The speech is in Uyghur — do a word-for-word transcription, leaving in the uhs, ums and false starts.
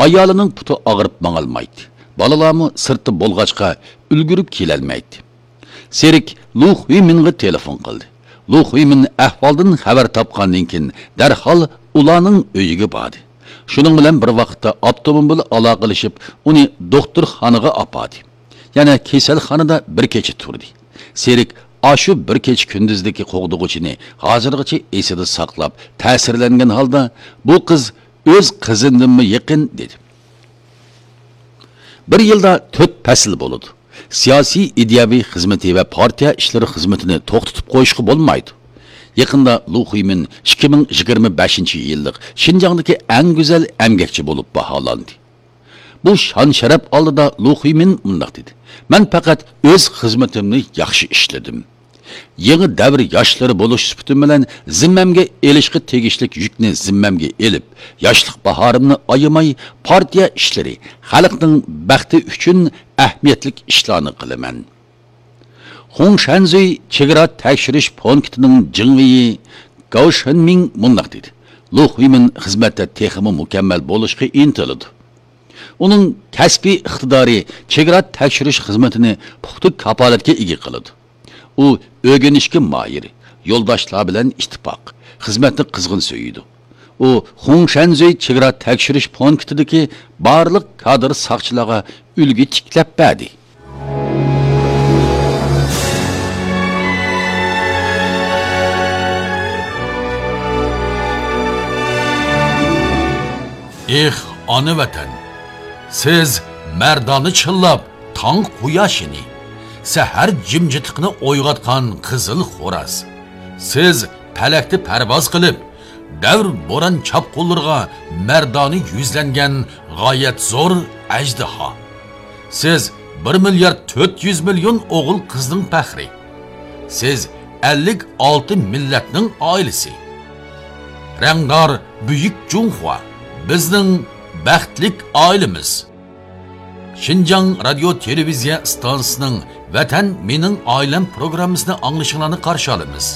ئايالىنىڭ پۇتى ئاغرىپ ماڭالمايتتى. بالىلارمۇ سىرتتا بولغاچقا، ئۈلگۈرۈپ كېلەلمەيتتى. سېرىك لۇ خۇيمىنغا تېلېفون قىلدى. لۇ خۇيمىن ئەھۋالدىن خەۋەر تاپقاندىن كېيىن، دەرھال ئۇلارنىڭ ئۆيىگە باردى. شۇنىڭ بىلەن بىر ۋاقىتتا، ئاپتوموبىل ئالاقىلىشىپ، ئۇنى دوختۇرخانىغا ئاپاردى. يەنە كېسەلخانىدا بىر كېچە تۇردى. سېرىك ئاشۇ بىر كېچە كۈندۈزدىكى قوغدىغۇچىنى ھازىرغىچە ئېسىدە ساقلاپ، تەسىرلەنگەن ھالدا، «بۇ قىز ئۆز قىزىمدىنمۇ يېقىن» دېدى. بىر يىلدا تۆت پەسىل بولىدۇ. سىياسىي، ئىدىيەۋى خىزمىتى ۋە پارتىيە ئىشلىرى خىزمىتىنى توختىتىپ قويۇشقا بولمايدۇ. يېقىندا لۇ خۇيمىن ئىككى مىڭ يىگىرمە بەشىنچى يىللىق شىنجاڭدىكى ئەڭ گۈزەل ئەمگەكچى بولۇپ باھالاندى. بۇ شان-شەرەپ ئالدىدا لۇ خۇيمىن مۇنداق دېدى: «مەن پەقەت ئۆز خىزمىتىمنى ياخشى ئىشلىدىم. يېڭى دەۋر ياشلىرى بولۇش سۈپىتىم بىلەن زىممەمگە ئېلىشقا تېگىشلىك يۈكنى زىممەمگە ئېلىپ، ياشلىق باھارىمنى ئايىماي، پارتىيە ئىشلىرى، خەلقنىڭ بەختى ئۈچۈن ئەھمىيەتلىك ئىشلارنى قىلىمەن.» خۇڭشەنزۈي چېگرا تەكشۈرۈش پونكىتىنىڭ جېڭۋېيى گاۋ شېنمىڭ مۇنداق دېدى: «لۇ خۇيمىن خىزمەتتە تېخىمۇ مۇكەممەل بولۇشقا ئىنتىلىدۇ. ئۇنىڭ كەسپىي ئىقتىدارى چېگرا تەكشۈرۈش خىزمىتىنى پۇختا كاپالەتكە ئىگە قىلىدۇ. ئۇ ئۆگىنىشكە ماھىر، يولداشلار بىلەن ئىتتىپاق، خىزمەتنى قىزغىن سۆيىدۇ. ئۇ خۇڭشەنزۈي چېگرا تەكشۈرۈش پونكىتىدىكى بارلىق كادىر ساقچىلارغا ئۈلگە تىكلەپ بەردى.» ئېھ، ئانا ۋەتەن! سىز مەردانە چىللاپ تاڭ قۇياشىنى، سەھەر جىمجىتلىقىنى ئويغاتقان قىزىل خوراز. سىز پەلەكتە پەرۋاز قىلىپ، دەۋر بوران چاپقۇنلىرىغا مەردانە يۈزلەنگەن غايەت زور ئەجدىھا. سىز بىر مىليارد تۆت يۈز مىليون ئوغۇل قىزنىڭ پەخرى. سىز ئەللىك ئالتە مىللەتنىڭ ئائىلىسى. رەڭدار بۈيۈك جۇڭخۇا، بىزنىڭ بەختلىك ئائىلىمىز. شىنجاڭ رادىيو تېلېۋىزىيە ئىستانسىسىنىڭ ۋەتەن مېنىڭ ئائىلەم پروگراممىسىنى ئاڭلىشىڭلارنى قارشى ئالىمىز.